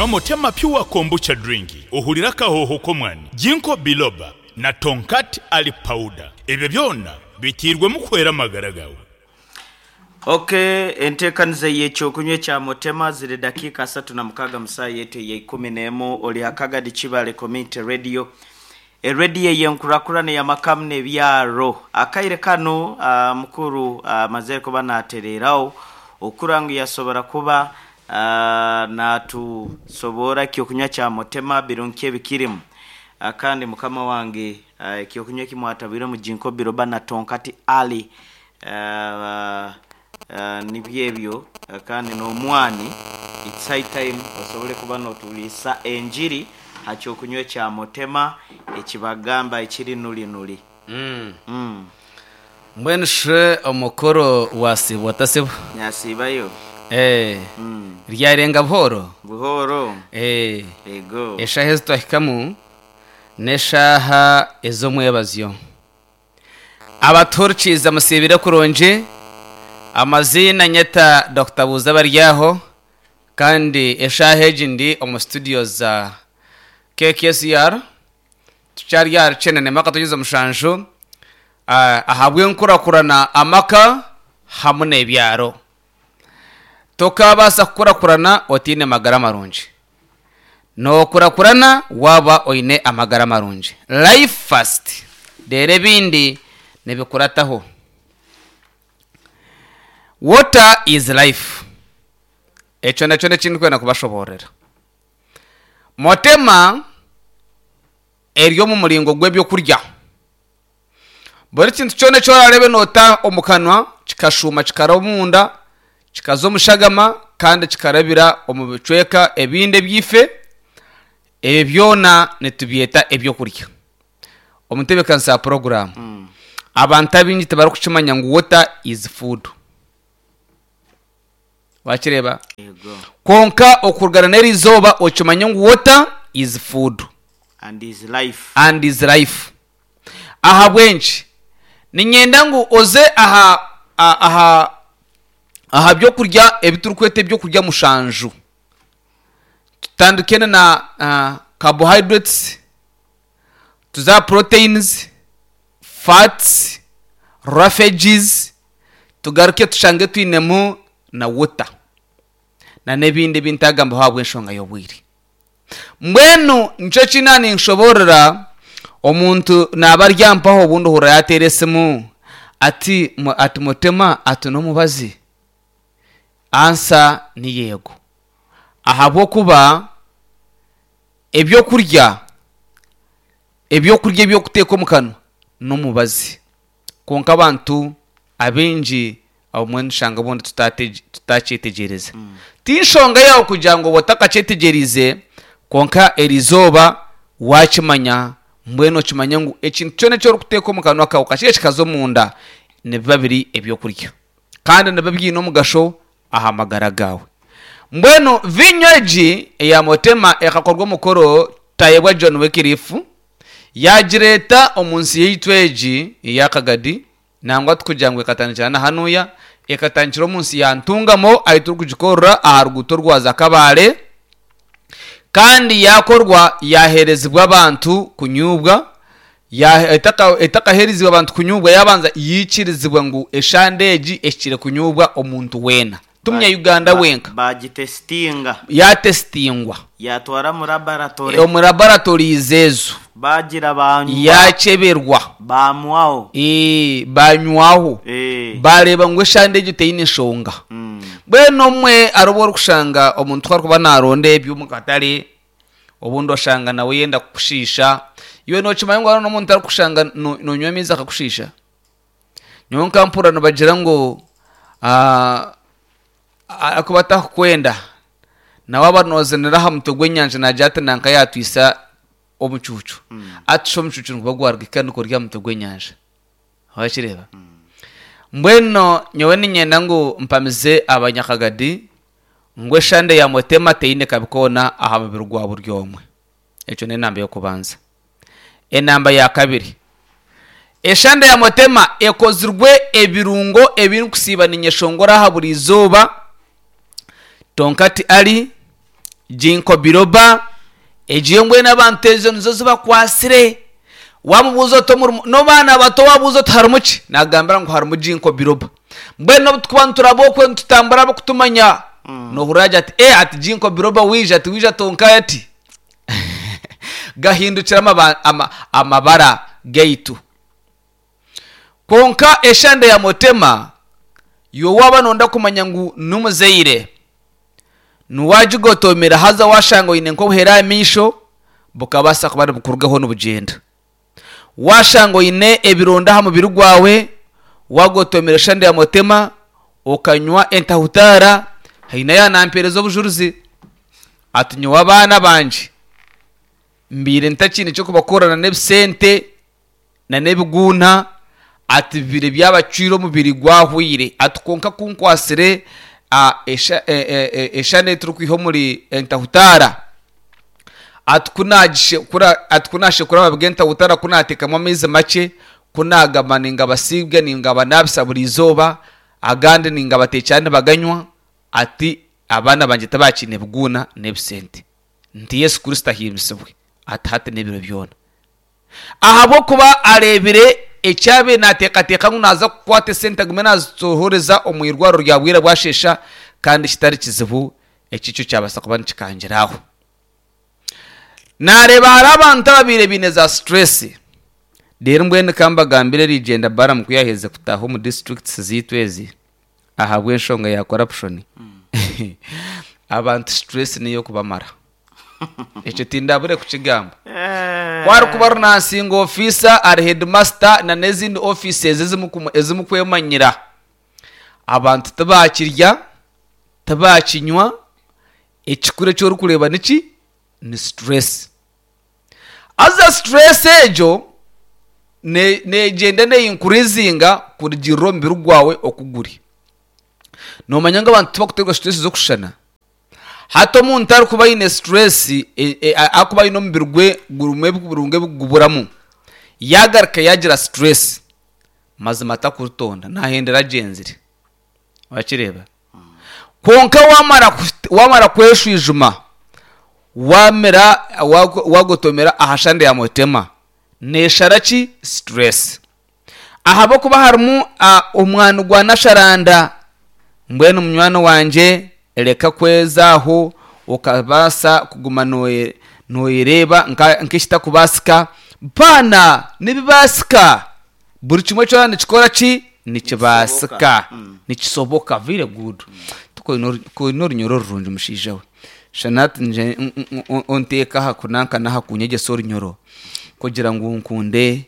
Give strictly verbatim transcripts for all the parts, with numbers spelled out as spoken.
Nywa Motema Pure Kombucha Drink ohurire akahooho k'omwani, Ginkgo Biloba na Tongkat Ali Powder. Ebyo byona biteirwemu kuhwera amagara gaawe. Ok, enteekaniza y'ekyokunywa ekya Motema ziri dakiika asatu na mukaaga mu saaha yaitu eya ikumi n'emwe ori aha Kagadi Kibale Community Radio, erediyo ey'enkurakurana ey'amaka n'ebyaro. Akaire kanu ah, mukuru amazire kuba naatereeraho okukura ngu yasobora kuba ah, naatusoboora ekyokunywa kya Motema birungi ki ebikirimu. Ah, kandi mukama wange ah, ekyokunywa eki mwatabwiremu Ginkgo Biloba na Tongkat Ali ah, ah, nibyo ebyo ah, kandi n'omwani it's high time osobole kuba nootuliisa enjiri ha kyokunywa ekya Motema ekibagamba ekiri nuri nuri. Mm. Mbwenu shi omukuru wasiibwa otasiibwa? Nasiibayo. Eh, Mm. ryarenga buhooro? Buhooro. Eh, Ego. eshaaha ezi twahikamu n'eshaaha ez'omwebazyo. Abatuhurikiize musiibire kurungi, amaziina nyeta Dokita Buuza Baryaho, kandi eshaaha egi ndi omu studio za K K S R, tukyari aha Rukyenda akatonyeza mushanju, ah, ahabw'enkurakurana amaka hamwe n'ebyaro. Tokabaasa kukurakurana otaine magara marungi. Nookurakurana waaba oine amagara marungi. Life first. Reero ebindi nibikurataho. Water is life. Ekyo nakyo n'ekindi kubashoboorera. Motema eri omu muringo gw'ebyokurya. Buri kintu kyona eki orareebe noota omu kanwa kikashuuma kikaraba omunda kikaza omu shagama kandi kikarabira omu bicweka ebindi ebyaife, ebyo byona nitubyeta ebyokurya. Omu ntebeekanisa ya poroguraamu, abantu abaingi tibarikukimanya ngu water is food. Wakireeba? Ego. Kwonka okurugana n'eri izooba okimanye ngu water is food. And is life. And is life. Ahabw'enki? Niinyenda ngu oze aha aha aha byokurya ebi turikweta ebyokurya mushanju. Tutandike na uh, carbohydrates, tuze aha proteins, fats, roughages, tugaruke tushange twinemu na water. Na n'ebindi ebi ntagambaho ahabw'enshonga y'obwire. Mbwenu nikyo eki ninshoboorora omuntu naaba ari mpaho obundi ohurira yaateera esimu ati ati Mutema ati n'omubazi? Answer ni yeego. Ahabw'okuba ebyokurya ebyokurya eby'okuteeka omu kanwa n'omubazi. Kwonka abantu abaingi obumwe nishanga obundi tutakyetegyereza. Ti nshonga yaawe kugira ngu oba otakakyetegyereize kwonka eriizooba waakimanya mbwenu okimanye ngu ekintu kyona eki orikuteeka omu kanwa kaawe okakirya kikaza omunda nibiba biri ebyokurya. Kandi nibiba biine omugasho aha magara gaawe. Mbwenu viinyo egi eya Motema ekakorwa omukoro Tayebwa John Wycliffe yaagireeta omu nsi yaitu egi eya Kagadi nangwa tikugira ngu ekatandikira na hanuya ekatandikira omu nsi ya Ntungamo ahu turikugikorera aha ruguuto rwaza Kabale kandi yakorwa yaheerezibwa abantu kunyubwa etakaheerezibwe abantu kunyubwa yabanza yikirizibwa ngu eshande egi ehikire kunyubwa omuntu weena. Tumya Uganda wenka. Bagitesitinga. Yatesitingwa. Yatwara mu laboratory. Omu laboratories ezo. Bagira banywa. Yakyeberwa. Bamwaho. Ee, banywaho. Eh. Bareeba ngu eshande egyo teine nshonga. Mm. Mbwenu omwe hariho obu orikushanga omuntu ku arikuba naaronda eby'omu katare obundi oshanga nawe yenda kukushiisha iwe nookimanya ngu hariho n'omuntu arikushanga noonywa amaizi akakushiisha. Nyowe nkampurira nibagira ngu ah, arikuba atakukwenda nawe aba noozinira aha mutwe gw'enyanja naagira ati nanka yaatwisa omucuucu ati shi omucuucu niguba gwaruga kandi kuri aha mutwe gw'enyanja wakireeba. Mbwenu nyowe niinyenda ngu mpamize abanyakagadi ngu eshande ya Motema teine kabi koona aha mubiri gwa buri omwe. Ekyo n'enamba y'okubanza. Enamba ya kabiri, eshande ya Motema ekozirwe ebirungo ebirikusiiba niinyeshongora aha buri izooba Tongkat Ali, Ginkgo biloba egiyo mbwenu abantu ezo nizo zibakwasire. Wamubuuza oti omurimu n'abaana bato wabuuza oti harimu ki, nagambira ngu harimu ginkgo biloba. Mbwenu obu tukuba nituraba okwe nitutambura abakutumanya, nohurira agira ati ee ati ginkgo biloba wija ati wija tonkayo ati gahindukire amaba, ama, amabara gaitu. Kwonka eshande ya motema yo waba nonda kumanya ngu n'omuzaire niwagigotomera haza washanga oine nk'obuhere aha maisho bukabaasa kuba nibukurugaho nibugyenda. Washanga oine ebironda aha mubiri gwawe, wagotomera eshande ya motema okanywa entahutaara, haine yanampereza obujurizi ati nyowe abaana bangye mbiire ntakiine ky'okubakorana n'ebisente na n'ebiguuna, ati bibire byabacwire omubiri gwahwire, ati kwonka kunkwasire eshande e, e, e, turikwiha omuri entahutaara, ati kunashekura amababi g'entahutaara kunateekamu amaizi makye, kunagamba ningabasiiga ningabanabisa buri izooba, agandi ningabateekyera nibaganywa, ati abaana bangye tibakiine biguuna n'ebisente. Nti Yesu Kristo ahimbisibwe ati hati n'ebiro byona. Ahabw'okuba areebire ekyabaire naateekateeka ngu naaza kukwata esente agume naazitohoreza omu irwariro rya bwira bwasheesha, kandi kitari kizibu eki kyo kyabaasa kuba nikikangira aho. Naareeba hariho abantu ababaire baine za stress. Reero mbwenu kambagambire erigyenda Balaam ku yaaherize kutaaha omu districts zaitu ezi ahabw'enshonga ya corruption, abantu stress niyo kubamara. Ekyo tindabure kukigamba. Kwarikuba runansinga ofiisa ari headmaster na n'ezindi offices ezimukwemanyira, abantu tibakirya tibakinywa, ekikuru eki orikureeba niki? Ni stress. Haza stress egyo negyenda neyinkurizinga kurugirira omubiri gwawe oku guri. Noomanya ngu abantu tibakuteerwa stress z'okushushana. Hati omuntu arikuba aine stress, arikuba aine omubiri gwe gurimu ebirungo ebikuguburamu, yagaruka yagira stress, mazima takurutonda nahendera agyenzire. Wakireeba? Kwonka wamara wamara kweshwijuma, wamira wagotomera aha shande ya motema, neeshara ki? Stress. Ahabw'okuba harimu omwani gwa nasharanda, mbwenu munywani wangye reka kwezaaho okabaasa kuguma noyereeba nk'ekitakubaasika. Paana nibibaasika, buri kimwe kyona nikikora ki? Nikibaasika, nikisoboka. Very good. Koine orunyoro rurungi mushaija we. Shana nje onteeka aha kunanka n'aha kunyegyesa orunyoro kugira ngu nkunde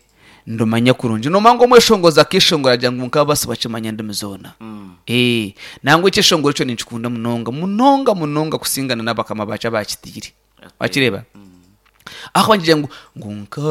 ndumanye kurungi. Nomanya ngu omweshongozi akeshongora agira ngu nk'abasi bakimanya endimi zoona. Ee, nangwa ekyeshongoro ekyo ninkikunda munonga munonga munonga kusingana n'abakama bakyo abakitiire. Wakireeba? Ahakuba nikigira ngu ngu nka